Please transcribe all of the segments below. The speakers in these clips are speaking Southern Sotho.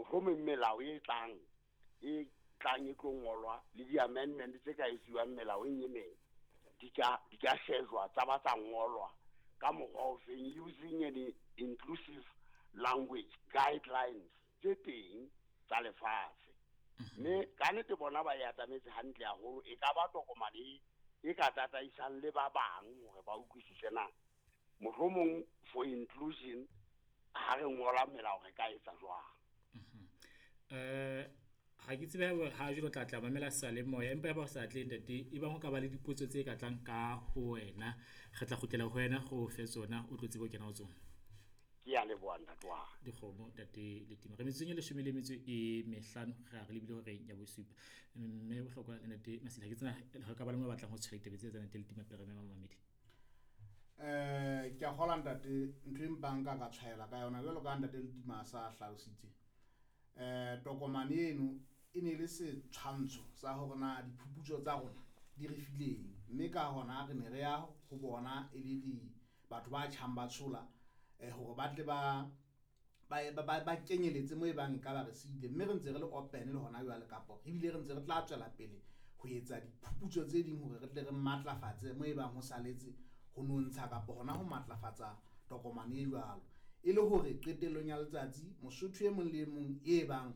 Mohlomong melao e tlang e tlang e tlo ngolwa le di-amendment tse ka etsuwang melaong e meng di ka shejwa tsa ba tsa ngolwa ka mokgwa o feng, using an inclusive language guidelines tse teng tsa lefatshe. Mme ka nnete bona ba e atametse hantle haholo, e ka ba tokomane e ka tataisang le ba bang hore ba utlwisise na mohlomong for inclusion ha re ngola melao re ka etsa jwang. Ha ke tsebe ha jwale o tla tla mamela seyalemoya, empa eba o sa tle ntate, e bang ho ka ba le dipotso tse ka tlang ka ho wena, re tla kgutlela ho wena re o fe tsona, o tlo tsebe ho kena ho tsona. Ke a leboha ntate wa ka. Dikgomo ntate Letima. Re metsotsong e leshome le metso e mehlano, re a re lebile horeng ya bosupa. Mme bohlokwa le ntate Masila, ke tsena re ka ba le mo batlang ho tshwela ditaba tse tsa ntate Letima pele re mema mamedi. Ke a kgolwa ntate, ntho e mpang ka ka tshwaela ka yona jwalo ka ntate Letima a sa hlalositse. Tokomane eno e ne le setshwantsho sa hore na diphuputso tsa rona di re fileng, mme ka hona re ne re ya ho bona e le di batho ba tjhang ba tshola hore ba tle ba ba kenyeletse mo e bang ka ba re siile, mme re ntse re le open le hona jwale, kapa ebile re ntse re tla tswela pele ho etsa diphuputso tse ding hore re tle re matlafatse mo e bang ho saletse ho nontsha kapa hona ho matlafatsa tokomane e jwalo, e le hore qetellong ya letsatsi Mosotho e mong le e mong e bang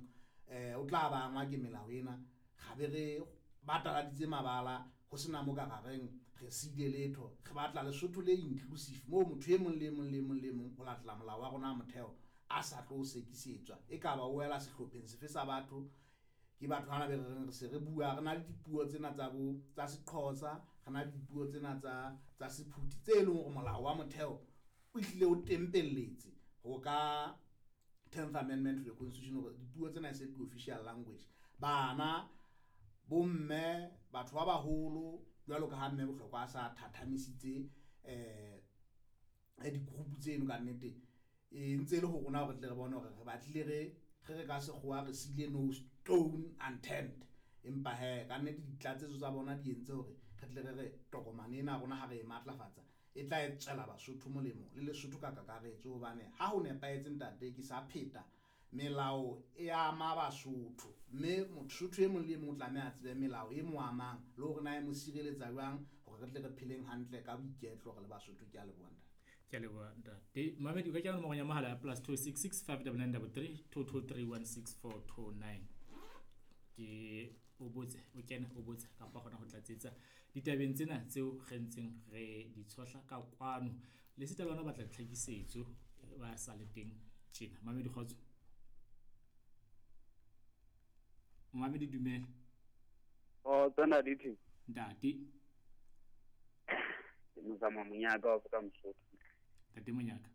o tla ba angwa ke melao ena, ga be re bataladitse mabala ho sena mo ka reng re siile letho. Re batla Lesotho le inclusive moo motho e mong le e mong le e mong le e mong ho latela molao wa rona wa motheo a sa tlo sekisetswa, e ka ba o wela sehlopheng sefe sa batho. Ke batho bana be re reng re se re bua, re na le dipuo tsena tsa bo tsa Sexhosa, re na le dipuo tsena tsa Sephuthi tse leng hore molao wa motheo o hlile o tempelletse ho ka 10th Amendment to the Constitution hore dipuo tsena e se ke official language. Bana, bomme, batho ba baholo jwalo ka ha mme Bohlokwa a sa thathamisitse di-group tseno, ka nnete e ntse le ho rona hore tle re bone hore re batlile re ka sekgowa re siile no stone unturned, empa he ka nnete ditlatsetso tsa bona di entse hore re tle re re tokomane ena rona ha re e matlafatsa e tla e tswela Basotho molemo le Lesotho ka kakaretso, hobane ha ho nepahetse ntate ke sa pheta melao e ama Basotho, mme Mosotho e mong le e mong o tlameha a tsebe melao e mo amang le hore na e mo sireletsa jwang hore re tle re pheleng hantle ka boiketlo re le Basotho. Ke a leboha ntate. Ke a leboha ntate. Mamedi, o ka kena nomorong ya mohala ya +266 599 33 223 16429. Ke o botse, o kene o botse kapa hona ho tlatsetsa ditabeng tsena tseo re ntseng re di tshohla ka kwano. Le sita le hona o batla tlhakisetso ba sa le teng tjena. Mamedi, kgotso. Mamedi, dumela. Oh, tsena di theng? Ntate. Ke mozama Monyaka wa ka Mosotho. Ntate Monyaka.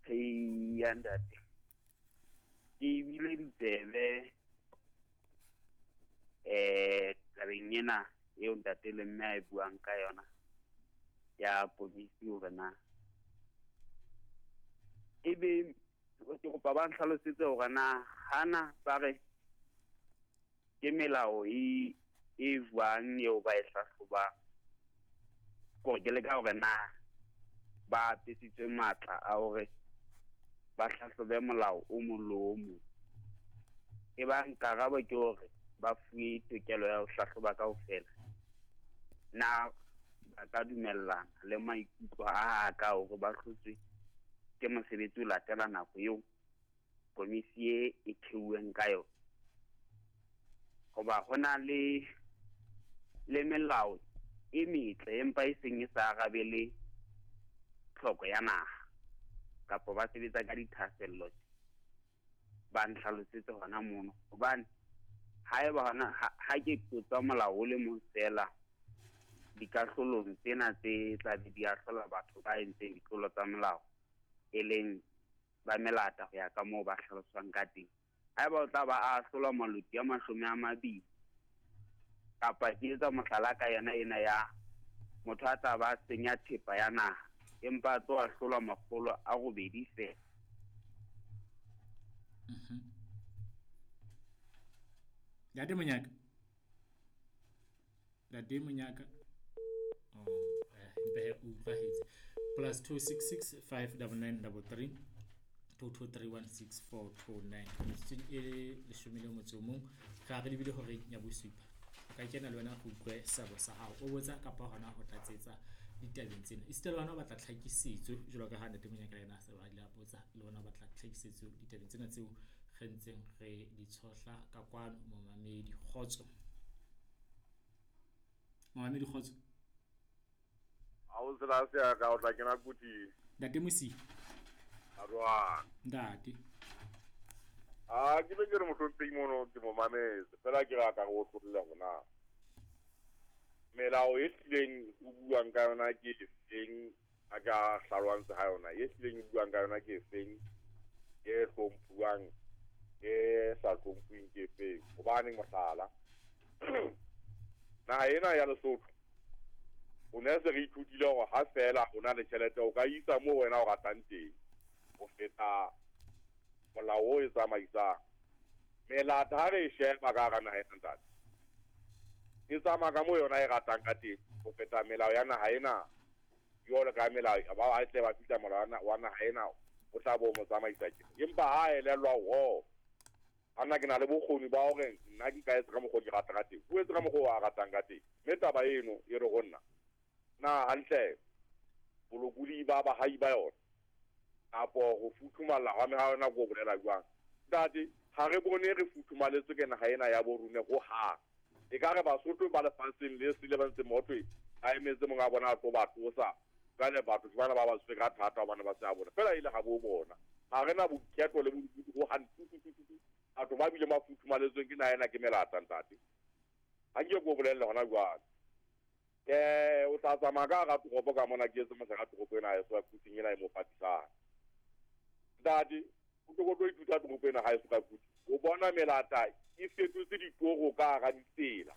Eya ntate. Ke bile ditsebe tabeng ena eo ntate le mme a e buang ka yona ya komisi hore na ebe ke kopa ba nhlalosetse hore na hana ba re ke melao e jwang eo ba e hlahlobang, kore ke leka hore na ba apesitswe matla a hore ba hlahlobe molao o mong le o mong. E bang karabo ke hore ba fuwe tokelo ya ho hlahloba kaofela, na ba ka dumellana le maikutlo a ka hore ba hlotswe ke mosebetsi o latela nako eo komisi e theuweng ka yona? Hoba ho na le melao e metle empa e seng e sa arabele tlhoko ya naha, kapa ba sebetsa ka dithahasello. Ba nhlalosetse hona mono, hobane haeba hona ha ke qotsa molao o le mong feela dikahlolong tsena tse tla be di ahlola batho ba entseng ditlolo tsa molao, e leng ba melata ho ya ka moo ba hlaloswang ka teng. Haeba o tla ba ahlola maloti a 20, kapa ke etsa mohlala ka yona ena ya motho a tla ba senya thepa ya naha empa a tlo ahlolwa 800 feela. Ntate Monyaka. Ntate Monyaka. Oh, mpe o utlwahetse. +266 599 33 22316429. Metsotsong e 11 re re lebile horeng ya bosupa. O ka kena le wena go utlwe seabo sa hao, o botsa kapa hona ho tlatsetsa ditabeng tsena. Esita le wena o batla tlhakisetso jwalo ka ha Ntate Monyaka le yena a se ba ile a botsa, le wena o batla tlhakisetso ditabeng tsena tseo re ntseng re di tshohla ka kwano. Momamedi kgotso, momamedi kgotso. Ha o tsela se ya ka o tla kena kuti. Ntate Mosia. A jwang? Ntate. A ke be ke re mohlomphehi mono ke mo mametse fela ke rata go otlolla hore na melao e hlileng o buang ka yona ke efeng, a ka hlalwang ha yona e hlileng e buang ka yona ke efeng, e hlomphuwang e sa hlomphuweng ke efeng. Hobane mohlala naha ena ya Lesotho o ne se re ithutile hore ha fela o na le tjhelete o ka isa moo wena o ratang teng ho feta molao o e tsamaisang. Melata ha re e sheba ka hara naha ena ntate, e tsamaya ka moo yona e ratang ka teng ho feta melao ya naha ena. Jwalo ka melao ba tle ba fihla molao wa naha ena o tla bo mo tsamaisa tjena. Empa ha elellwa hore ana ke na le bokgoni ba hore nna ke ka etsa ka mokgwa o ke ratang ka teng, o etse ka mokgwa o a ratang ka teng. Mme taba eno e re ho nna na hantle bolokodi ba bahai ba yona kapo ho futhumalla hwa meha yona ko bolela jwang. Ntate, ha re bone re futhumaletswe ke naha ena ya bo rona ho hang. E ka re Basotho ba lefatsheng le sele ba ntse motho a emetse monga bona a tlo ba tlosa. Jwale batho ke bana ba ba tswe ka thata hobane ba se a bona. Fela ile ha bo bona. Ha re na boiketlo le bolokodi ho hang. Batho ba bile ba futhumaletsweng ke naha ena ke melata ntate. Ha ke ko bolelle hona jwale. O tla tsamaya ka hara toropo ka mona ke etse mohlala toropo ena ya Soka Quting ena e mo patisang. Ntate, o tlo tlo ithuta toropo ena ha e Soka Quting. O bona melata e fetotse ditoro ka hara ditsela.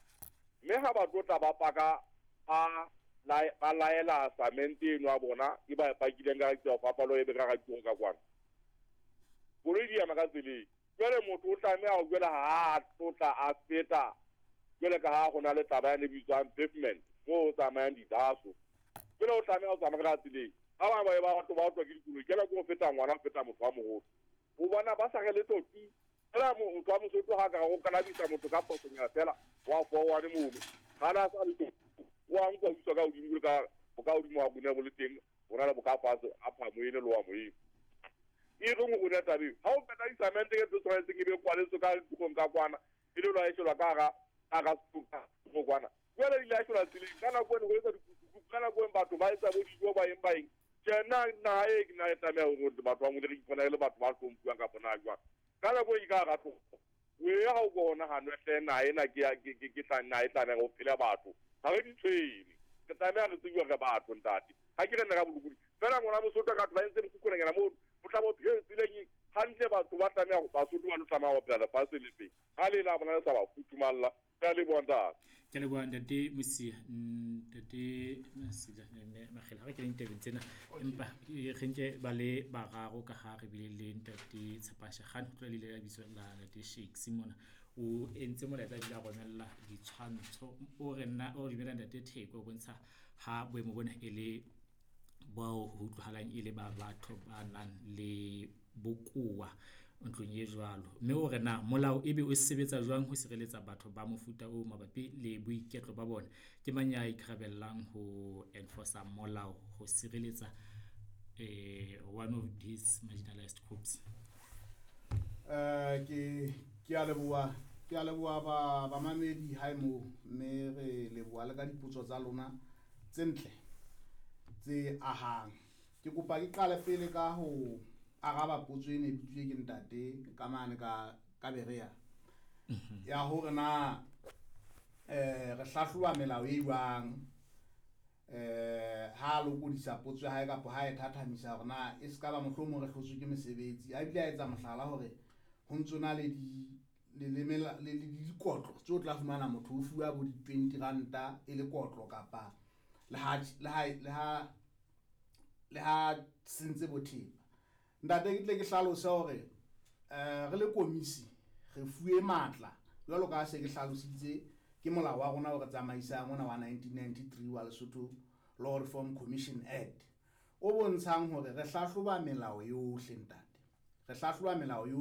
Mme ha ba tlo tla ba paka ba laela samente eno ya bona e ba e pakileng ka tsela fapalo e be ka hara ditoro ka kwana. Koloi di ema ka tseleng. Jwale motho o tlameha ho jwale ha a tlotla a feta jwale ka ha ho na le taba ya ne bitswang pavement moo o tsamayang didaso. Jwale o tlameha ho tsamaya ka tseleng. Ha ba ba batho ba otlwa ke dikoloi, ke nako o feta ngwana o feta motho wa moholo. O bona ba sa re letho tu. Fela motho wa Mosotho ha ka go kalabisa motho ka phosonyana fela wa fowane mono. Ha na sa letho wa nkwa utswa ka hodimo ka bo ka hodimo wa bone bo le teng, ho na le bo ka fatshe a phamo ene le wa moeng. E re go rona tabeng ha o peta disamente ke tse tshwanetseng e be kwaletswe ka ditlong ka kwana e le lwa eshelwa ka hara go kwana. Jwale di la eshelwa tseleng ka nako eno ho etsa dikukuku, ka nako eno batho ba etsa bo dijo ba eng ba eng. Tjhe, nna naha e ke na e tlameha hore batho ba mo re ipona e le batho ba hlomphuwang kapa na jwang. Ka nako e ka hara toropo o e ha o bona ha nwe hle naha ena ke ya ke tla naha e tlameha ho phela batho. Ha re di tshwene. Re tlameha re tsebe hore batho ntate. Ha ke re nna ka bolokodi. Fela ngwana Mosotho ka batho ba entse mokhukhunanyana moo o tla bo phela tseleng hantle batho ba tlameha ho Basotho ba lo tlameha ho phela lefatshe le feng. Ha le la bona le sa ba futhumalla. Ke a leboha ntate. Ke a leboha Ntate Mosia, Ntate Mosia Makgela, ha re keneng tabeng tsena empa re nke ba le bararo ka ha re bile le Ntate Tshepashe Khan ho tloha le ile la bitso la Ntate Shakes mona. O entse molaetsa ebile a romella ditshwantsho o re nna o dumela Ntate Theko o bontsha ha boemo bona e le bao ho utlwahalang e le ba batho ba nang le bokowa ntlong e jwalo. Mme o re na molao ebe o sebetsa jwang ho sireletsa batho ba mofuta o mabapi le boiketlo ba bona? Ke mang ya ikarabellang ho enforce molao ho sireletsa one of these marginalized groups? Ke a leboha, ke a leboha ba bamamedi hae moo, mme re leboha le ka dipotso tsa lona tse ntle tse ahang. Ke kopa ke qale pele ka ho araba potso ene e bitswe ke ntate ka mane ka Berea. Ya hore na re hlahloba melao e jwang ha lokodisa potso ya hae kapa ha e thathamisa hore na e ska ba mohlomong re hlotswe ke mesebetsi. A bile a etsa mohlala hore ho ntso na le di le dikotlo tse o tla fumana motho o fuwa bo di 20 ranta e le kotlo kapa le ha sentse bo thepa. Ntate ke tle ke hlalose hore re le komisi re fuwe matla jwalo ka se ke hlalositse ke molao wa rona o re tsamaisang ona wa 1993 wa Lesotho Law Reform Commission Act o bontshang hore re hlahloba melao yohle ntate. Re hlahloba melao yohle.